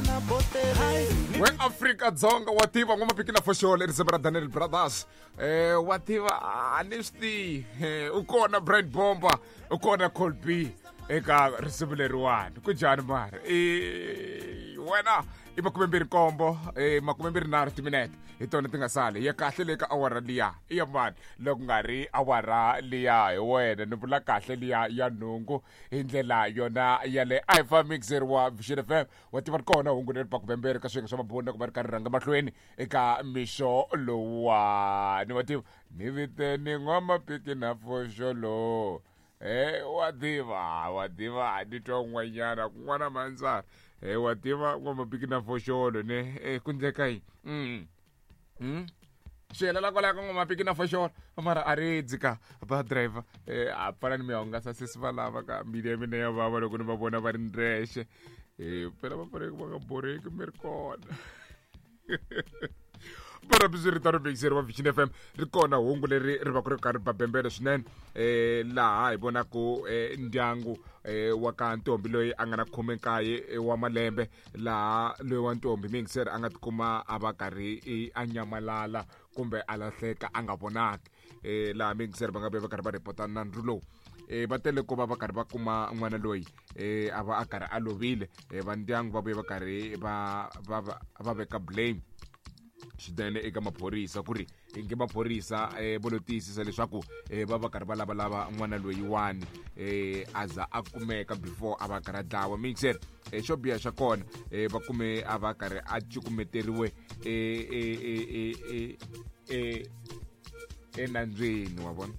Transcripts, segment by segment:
We Afrika Dzonga wa tiva n'wamapiki na foxolo risimu ra Daniel Brothers. Wa tiva a ni swi tivi. U kona Brian Bomba, u kona Colby eka risimu leriwani. Ku njhani mara? Wena i 27, 23 timinete hi tona ti nga sali ya kahle le ka awara liya i ya mani loko nga ri awara liya hi wena ni vula kahle liya ya nhungu hi ndlela yona ya le ifa mixer wa Vision FM. Wa tiva ri kona hungu leri bakubembere ka swiyenge swa mabunda ku va ri karhi rhanga mahlweni eka mixo lowuwani. Wa tiva ni viteni n'wamapiki na foxolo. Wa tiva, wa tiva ni twa un'wanyana kun'wana mandzara. Wa tiva n'wamapiki na foxolo ne ku ndleka yini? Swi helela kwalaho ka n'wamapiki na foxolo mara a ri dzika ba driver. A pfala ni mi hungasa sesi va lava ka mbilu ya mina ya vava loko ni va vona va ri ndrexe. Phela va fanele va nga borheki mi ri kona. Mara swiritano mixeri wa Vision FM ri kona hungu leri ri va ku ri karhi ba bembele swinene. Laha hi vonaku ndyangu wa ka ntombi loyi a nga na 19 wa malembe, laha loyi wa ntombi mixeri a nga tikuma a va karhi a nyamalala kumbe a lahleka a nga vonaki. Laha mixeri va nga ve va karhi va ripota nandzu lowu. Va tele ku va va karhi va kuma n'wana loyi a va a karhi a lovile. Va ndyangu va vuye va karhi va veka blame swinene eka maphorisa ku ri inge maphorisa vo lo tiyisisa leswaku va va karhi va lavalava n'wana loyiwani a za a kumeka before a va karhi a dlawa. Mixer xo biha xa kona va kume a va karhi a cukumeteriwe enandzweni wa vona.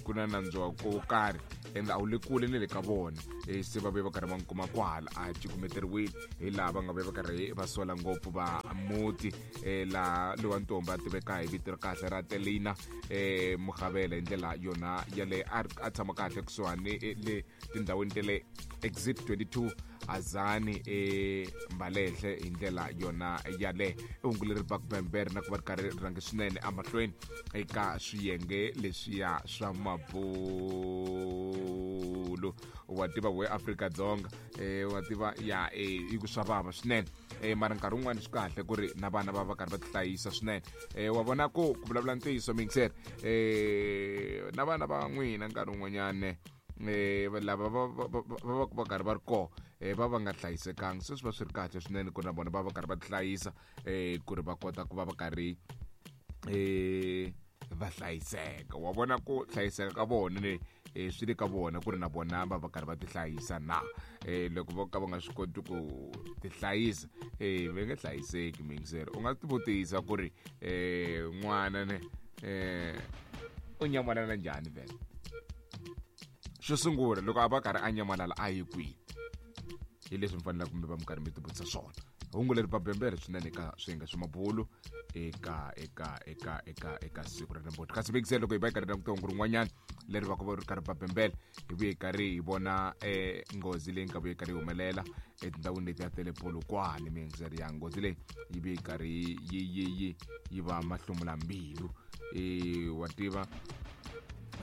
Ku na nandzu wa ko karhi ende a wu le kule ni le ka vona. Se va vuye va karhi va n'wi kuma kwahala a cukumeteriwile hi laha va nga vuye va karhi va sola ngopfu va muti. Laha lowa ntombi a tiveka hi vito ra kahle ra Telina Mugavela hi ndlela yona yale a tshama kahle kusuhani le tindhawini ta le Exit 22 Azani Mbalehle hi ndlela yona yale. I hungu leri ba kubembere na ku va ri karhi ri rhange swinene emahlweni eka swiyenge leswiya swa mabulu. Wa tiva we Afrika-Dzonga, wa tiva ya i ku swa vava swinene. Mara nkarhi wun'wani swi kahle ku ri na vana va va karhi va tihlayisa swinene. Wa vona ku ku vulavula ntiyiso mixer, na vana va n'wina nkarhi wun'wanyana lava va va va karhi va ri kona va va nga hlayisekanga. Se swi va swi ri kahle swinene ku ri na vona va va karhi va tihlayisa ku ri va kota ku va va karhi va hlayiseka. Wa vona ku hlayiseka ka vona ne swi le ka vona ku ri na vona va va karhi va tihlayisa na. Loko vo ka va nga swi koti ku tihlayisa va nge hlayiseki mixer. U nga tivutisa ku ri n'wana ne u nyamalala njhani vhele? Xo sungula loko a va karhi a nyamalala a yi kwihi? Hi leswi mi faneleke kumbe va mi karhi mi tivutisa swona. Hungu leri babembere swinene eka swiyenge swa mabulu eka eka eka eka eka siku ra namuntlha. Kasi vekisele loko hi va hi karhi languta hungu rin'wanyana leri va ku va ri karhi babembele, hi vuye hi karhi hi vona nghozi leyi nga vuye karhi yi humelela etindhawini leti ya ta le Polokwane. Miyingiseri ya nghozi leyi yi vuye karhi yi va mahlomula mbilu. Wa tiva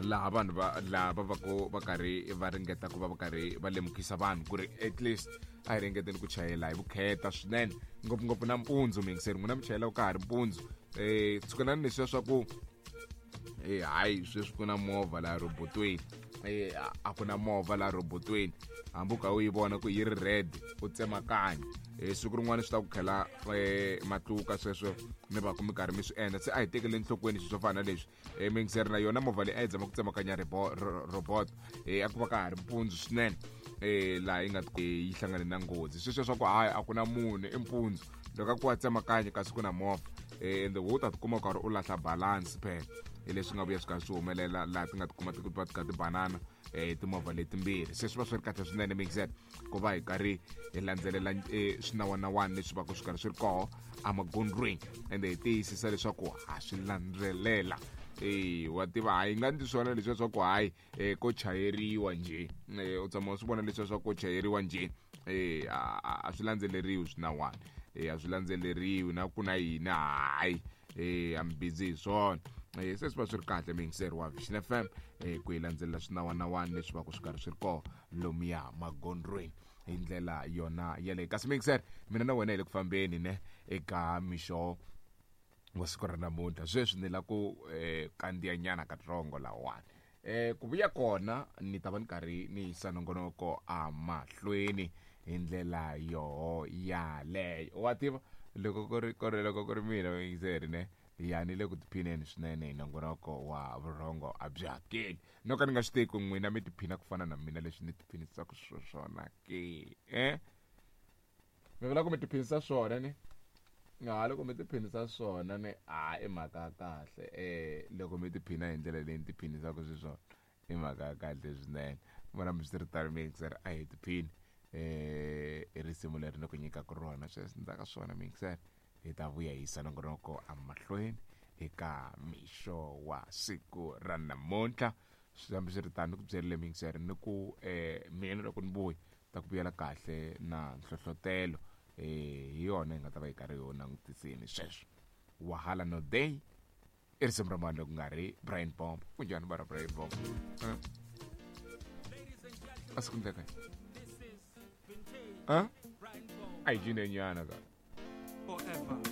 laha vanhu va laha va va ku va karhi va ringeta ku va va karhi va lemukisa vanhu ku ri at least a hi ringeteni ku chayela hi vukheta swinene, ngopfungopfu nampundzu. Miyingiseri n'wina mi chayela ka ha ri mpundzu. Tshukelani leswiya swa ku hayi sweswi ku na movha laha robotweni. A ku na movha laha robotweni, hambi u kha u yi vona ku yi ri red u tsemakanya. Siku rin'wana swi ta ku khela matluka sweswo mi va ku mi karhi mi swi endla. Se a hi tekeli enhlokweni swilo swo fana na leswi. Miyingiseri na yona movha leyi a yi zama ku tsemakanya robot, a ku va ka ha ri mpundzu swinene, laha yi nga yi hlangane na nghozi. Sweswo swa ku hayi a ku na munhu i mpundzu, loko a ku wa tsemakanya kasi ku na movha, ende wo ta tikuma u karhi u lahla balance phela. Hi leswi nga vuya swi karhi swi humelela laha ti nga tikuma ti va ti kha ti banana timovha letimbirhi. Se swi va swi ri kahle swinene mixer ku va hi karhi hi landzelela swinawanawani leswi va ku swi karhi swi ri koho emagondzweni, ende hi tiyisisa leswaku ha swi landzelela. Wa tiva hayi nga ndzi swona leswiya swa ku hayi ko chayeriwa njhe. U tshama u swi vona leswiya swa ko chayeriwa njhe. A swi landzeleriwi swinawani, a swi landzeleriwi na ku na yini hayi a mi busy hi swona. Se swi va swi ri kahle miyingiseri wa Vision FM ku hi landzelela swinawanawani leswi va ku swi karhi swi ri koho lomuya magondzweni. Hi ndlela yona yaleyo. Kasi mixer, mina na wena hi le ku fambeni ne eka mixo wa siku ra namuntlha. Sweswi ni la ku kandziya nyana katsongo lawani. Ku vuya kona ni ta va ni karhi ni yisa nongonoko amahlweni hi ndlela yoho yaleyo. Wa tiva loko ku ri ku ri loko ku ri mina mixer ne, ya ni le ku tiphineni swinene hi nongonoko wa Vurhongo a byi hakeli. No ka ni nga swi tivi ku n'wina mi tiphina ku fana na mina leswi ni tiphinisaka swona ke. Mi vula ku mi tiphinisa swona ni? Ha loko mi tiphinisa swona ni, a i mhaka ya kahle. Loko mi tiphina hi ndlela leyi ni tiphinisaka xiswona, i mhaka ya kahle swinene. Vona mi swiritano mixer, a hi tiphini i risimu leri ni ku nyikaka rona sweswi. Ndzhaku ka swona mixer, hi ta vuya hi yisa nongonoko emahlweni eka mixo wa siku ra namuntlha. Hambiswiritano ni ku byerile mixer ni ku mina loko ni vuya ta ku vuyela kahle na nhlohlotelo, hi yona hi nga ta va hi karhi hi langutiseni sweswo. Wahala No Day i risimu ra mani loko nga ri Brian Bomb? Kunjhani bara Brian Bomb? A swi ku ndleka a hi cinenyana ka. Forever.